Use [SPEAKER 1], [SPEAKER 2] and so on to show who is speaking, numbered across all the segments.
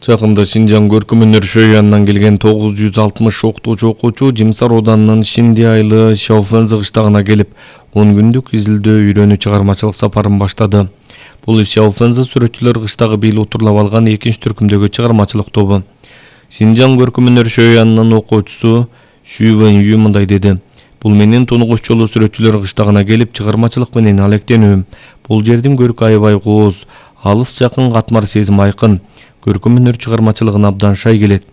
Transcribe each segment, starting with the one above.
[SPEAKER 1] Жакында Шинжаң көркөм өнөр шөйянынан келген 960 окуучу Жимсар ауданынын Шинди айылы Шауфензи кыштагына келип, 10 күндүк изилдөө үйрөнүү чыгармачылык сапарын баштады. Бул Шауфензи сүрөтчүлөр кыштагы бийли отурлап алган экинчи түркүмдөгү чыгармачылык тобу. Шинжаң көркөм өнөр шөйянынын окуучусу Шүйвен Ю мындай деди: "Бул менин тунугуч жолу сүрөтчүлөр кыштагына келип чыгармачылык менен алектенүүм. Бул жердин көркү аябай кооз, алыс жакын катмар сезим айкын. Көркөм өнөр чыгармачылыгына абдан шай келет.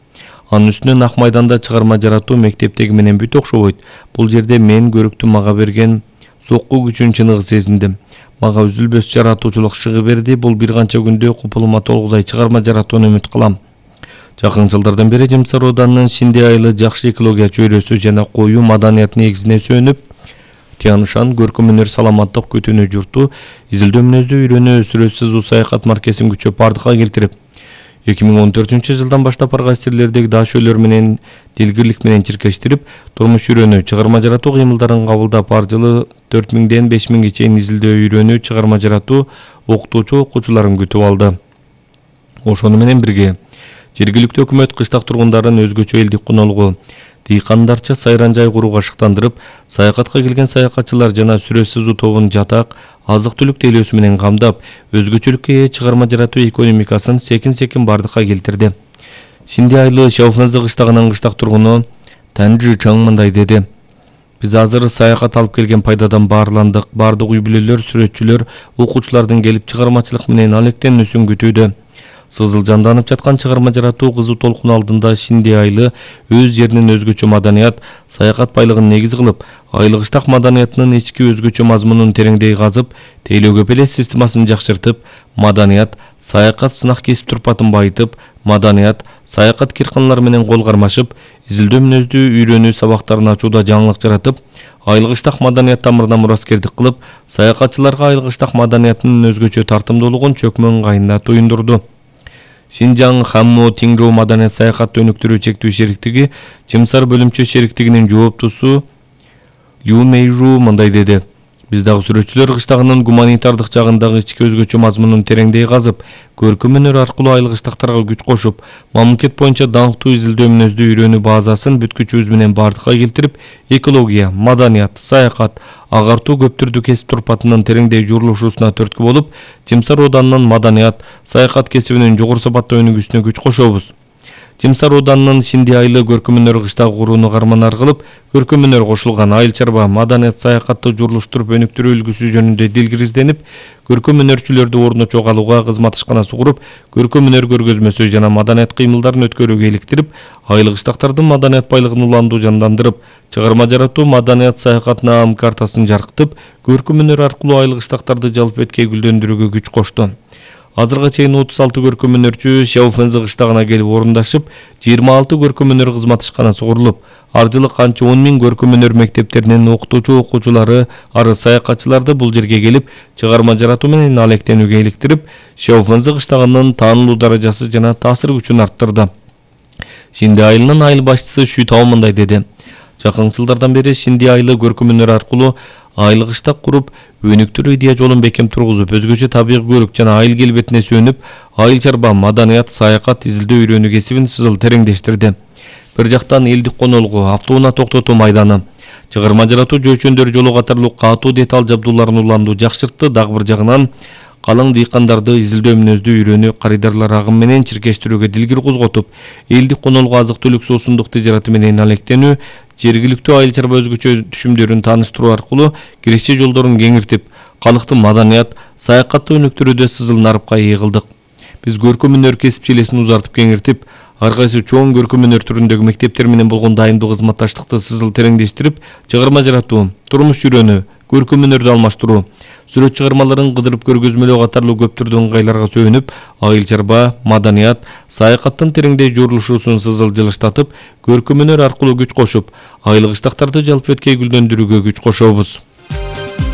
[SPEAKER 1] Анын үстүнөн Ак майданда чыгарма жаратуу мектептеги менен бүт окшобойт. Бул жерде мен көрктү мага берген сокку күчүн чыныгы сезиндим. Мага үзүлбөс жаратуучулук шыгы берди. Бул бир канча күндө купулума толгудай чыгарма жаратууну үмүт кылам." Жакын жылдардан бери Жимсар ауданынын Шинди айылы жакшы экология чөйрөсү жана коюу маданият негизине сүйөнүп, Тянышан көркөм өнөр саламаттык күтүүнү журту изилдөө мүнөздүү үйрөнүү сүрөтсүз саякат маркесин күчөп бардыкка келтирип, 2014-жылдан баштап ар кайсы жерлердеги дашөлөр менен дилгирлик менен чиркештирип, турмуш үйрөнүү, чыгарма жаратуу кыймылдарын кабылдап, ар жылы 4000-ден 5000ге чейин изилдөө үйрөнүү, чыгарма жаратуу окуучуларын күтүп алды. Ошону менен бирге жергиликтүү өкмөт кыштак тургундарын өзгөчө элдик конолугу дыйкандарча сайран жай курууга шыктандырып, саякатка келген саякатчылар жана сүрөтсүз тобун жатак, азык-түлүк тейлөөсү менен камдап, өзгөчөлүккө ээ чыгарма жаратуу экономикасын секин бардыкка келтирди. Шинди айылы Шауфензи кыштагынын кыштак тургуну Танжи Чаң мындай деди: "Биз азыр саякат алып келген пайдадан баарландык. Бардык үй бүлөлөр, сүрөтчүлөр, окуучулардын келип чыгармачылык менен алектенүүсүн күтүүдө. Сызыл жанданып жаткан чыгарма жаратуу кызуу толкун алдында Шинди айылы өз жеринин өзгөчө маданият, саякат байлыгын негиз кылып, айыл кыштак маданиятынын ички өзгөчө мазмунун тереңдей казып, тейлөөгө белес системасын жакшыртып, маданият, саякат сынак кесип турпатын байытып, маданият, саякат кирканалар менен кол кармашып, изилдөө мүнөздүү үйрөнүү сабактарын ачууда жаңылык жаратып, айыл кыштак маданият тамырына мураскердик кылып, саякатчыларга айыл кыштак маданиятынын өзгөчө тартымдуулугун чөкмө ыңгайына туюндурду." Шинжаң Хаммо Тиңроо маданият саякат өнүктүрүү чектүү шериктиги Жимсар бөлүмчө шериктигинин жооптусу Лю Мэйжу мындай деди: "Биз дагы сүрөтчүлөр кыштагынын гуманитардык жагындагы ички өзгөчө мазмунун тереңдей казып, көркөм өнөр аркылуу айыл кыштактарга күч кошуп, мамлекет боюнча даңктуу изилдөө мүнөздүү үйрөнүү базасын бүт күчүбүз менен бардыкка келтирип, экология, маданият, саякат, агартуу көптүрдү кесип турпатынын тереңдей журулушуусуна түрткү болуп, Жимсар ауданынын маданият, саякат кесибинин жогору сапаттуу өнүгүүсүнө күч кошобуз. Жимсар ауданынын Шинди айылы көркөм өнөр кыштагы курууну карманар кылып, көркөм өнөр кошулган айыл чарба, маданият, саякатты журулуштуруп өнүктүрүү үлгүсү жөнүндө дилгир изденип, көркөм өнөрчүлөрдү ордуна чогулууга кызмат ишканасы куруп, көркөм өнөр көргөзмөсү жана маданият кыймылдарын өткөрүүгө иликтирип, айыл кыштактардын маданият байлыгын уландуу жандандырып, чыгарма жаратуу маданият саякат наам картасын жаркытып, көркөм өнөр аркылуу айыл кыштактарды жалпы эткей гүлдөндүрүүгө күч кошту. Азырга чейин 36 көркөм өнөрчү Шауфензи кыштагына келип орундашып, 26 көркөм өнөр кызмат ишканасы курулуп, ар жылы канча 10 000 көркөм өнөр мектептеринин окуучулары, арыз саякатчыларды бул жерге келип, чыгарма жаратуу менен алектенүүгө иликтирип, Шауфензи кыштагынын таанылуу даражасы жана таасир күчүн арттырды. Шинди айылынын айыл башчысы Шүйтау мындай деди: "Жакын жылдардан бери Шинди айылы көркөм өнөр аркылуу айыл кыштак куруп, өнүктүрүү идея жолун бекем тургузуп, өзгөчө табигый көрк жана айыл келбетине сүйөнүп, айыл чарба, маданият, саякат, изилдөө үйрөнүү кесибин сызыл тереңдештирди. Бир жактан элдик конолугу, автоунаа токтотуу майданы, чыгарма жаратуу жөөчөндөр жолу катарлуу катуу деталь жабдууларын уландуу жакшыртты. Дагы бир жагынан калың дыйкандарды изилдөө мүнөздүү үйрөнүү карыдарлар агым менен чиркештирүүгө дилгир козготуп, элдик конолугу азык-түлүк суусундук тижараты менен алектенүү, жергиликтүү айыл чарба өзгөчө түшүмдөрүн тааныштыруу аркылуу киреше жолдорун кеңиртип, калыкты маданият, саякатты өнүктүрүүдө сызыл нарыпка ээ кылдык. Биз көркөм өнөр кесип желесин узартып кеңиртип, ар кайсы чоң көркөм өнөр түрүндөгү мектептер менен болгон дайымдуу кызматташтыкты сызыл тереңдештирип, чыгарма жаратуу, турмуш үйрөнүү, көркөм өнөрдү алмаштыруу, сүрөт чыгармаларын кыдырып көргөзмөлөө катарлуу көптүрдүү ыңгайларга сүйөнүп, айыл чарба, маданият, саякаттын тереңдей журулушуусун сызыл жылыштатып, көркөм өнөр аркылуу күч кошуп, айыл кыштактарды жалпы эткей гүлдөндүрүүгө күч кошобуз.